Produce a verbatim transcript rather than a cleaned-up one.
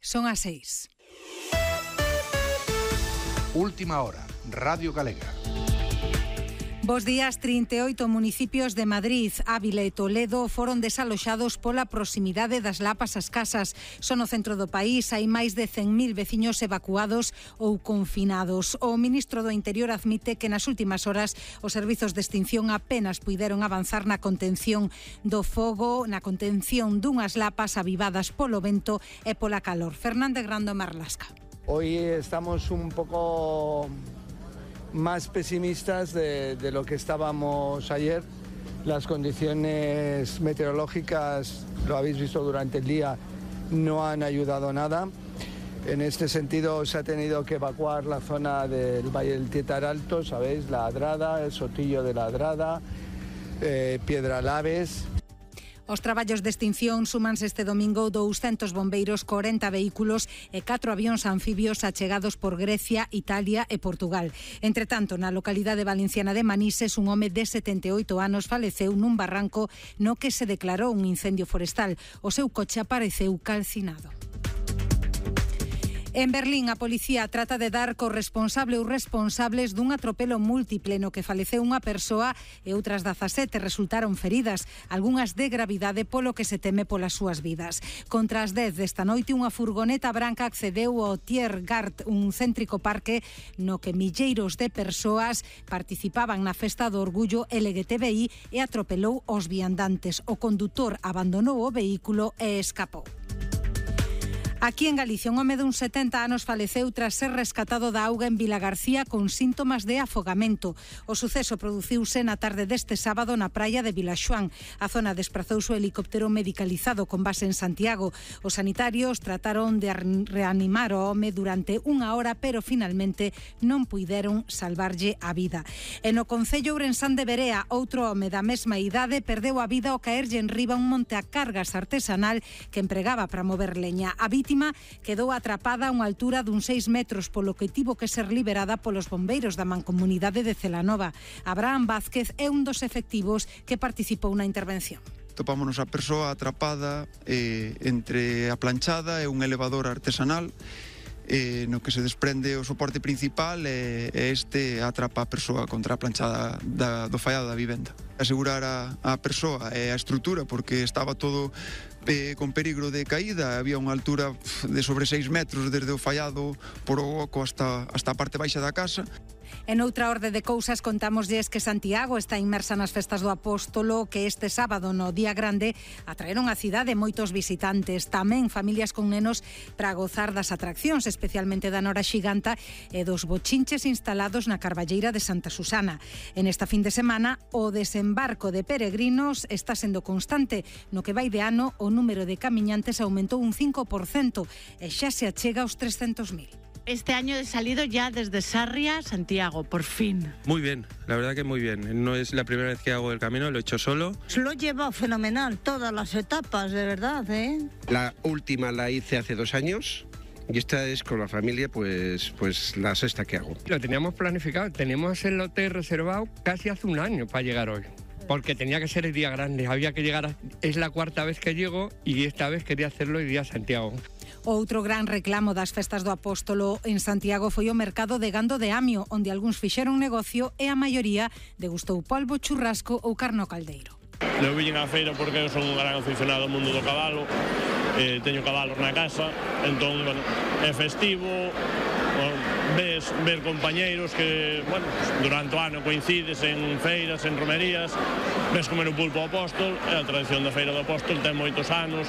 Son as seis. Última hora, Radio Galega. Bos días. trinta e oito municipios de Madrid, Ávila e Toledo foron desaloxados pola proximidade das lapas ás casas. Son no centro do país, hai máis de cen mil veciños evacuados ou confinados. O ministro do Interior admite que nas últimas horas os servizos de extinción apenas puideron avanzar na contención do fogo, na contención dunhas lapas avivadas polo vento e pola calor. Fernández Grando, Marlasca. Hoy estamos un poco más pesimistas de, de lo que estábamos ayer. Las condiciones meteorológicas, lo habéis visto durante el día, no han ayudado nada. En este sentido se ha tenido que evacuar la zona del Valle del Tietar Alto, ¿sabéis? La Adrada, el Sotillo de la Adrada, eh, Piedralaves. Os traballos de extinción súmanse este domingo douscentos bombeiros, corenta vehículos e catro avións anfibios achegados por Grecia, Italia e Portugal. Entre tanto, na localidade valenciana de Manises, un home de setenta e oito anos faleceu nun barranco no que se declarou un incendio forestal. O seu coche apareceu calcinado. En Berlín, a policía trata de dar co responsable ou responsables dun atropelo múltiple no que faleceu unha persoa e outras dezasete resultaron feridas, algunhas de gravidade polo que se teme polas súas vidas. Contra as dez desta noite, unha furgoneta branca accedeu ao Tiergarten, un céntrico parque no que milleiros de persoas participaban na festa do orgullo L G T B I e atropelou os viandantes. O condutor abandonou o vehículo e escapou. Aquí en Galicia, un home de uns setenta anos faleceu tras ser rescatado da auga en Vilagarcía con síntomas de afogamento. O suceso produciuse na tarde deste sábado na praia de Vilaxoán. A zona desprazouse o helicóptero medicalizado con base en Santiago. Os sanitarios trataron de reanimar o home durante unha hora, pero finalmente non puideron salvarlle a vida. E no concello ourensán de Berea, outro home da mesma idade perdeu a vida ao caerlle enriba un monte a cargas artesanal que empregaba para mover leña. A vítima quedou atrapada a unha altura dun seis metros, polo que tivo que ser liberada polos bombeiros da mancomunidade de Celanova. Abraham Vázquez é un dos efectivos que participou na intervención. Topámonos a persoa atrapada eh, entre a planchada e un elevador artesanal, eh, no que se desprende o soporte principal e eh, este atrapa a persoa contra a planchada da, do fallado da vivenda. Asegurar a, a persoa e a estrutura, porque estaba todo eh, con perigo de caída, había unha altura de sobre seis metros desde o fallado por o oco hasta, hasta a parte baixa da casa. En outra orde de cousas, contámoslles que Santiago está inmersa nas festas do Apóstolo, que este sábado no Día Grande atraeron á cidade moitos visitantes, tamén familias con nenos para gozar das atraccións, especialmente da Nora Xiganta e dos bochinches instalados na Carballeira de Santa Susana. En esta fin de semana, o desembarco de peregrinos está sendo constante. No que vai de ano, o número de camiñantes aumentou un cinco por cento e xa se achega aos trescentos mil. Este año he salido ya desde Sarria, Santiago, por fin. Muy bien, la verdad que muy bien. No es la primera vez que hago el camino, lo he hecho solo. Lo he llevado fenomenal, todas las etapas, de verdad, ¿eh? La última la hice hace dos años. Y esta es con la familia, pues, pues la sexta que hago. Lo teníamos planificado, teníamos el hotel reservado casi hace un año para llegar hoy. Porque tenía que ser el día grande, había que llegar, a, es la cuarta vez que llego y esta vez quería hacerlo el día Santiago. Outro gran reclamo das festas do Apóstolo en Santiago foi o mercado de gando de Amio, onde algúns fixeron negocio e a maioría degustou polvo, churrasco ou carno caldeiro. Eu viñen á feira porque eu son un gran aficionado ao mundo do cabalo, eh, teño cabalos na casa, entón, bueno, é festivo, bueno, ves ver compañeiros que, bueno, durante o ano coincides en feiras, en romerías, ves comer o pulpo ao Apóstol, e a tradición da feira do Apóstol ten moitos anos,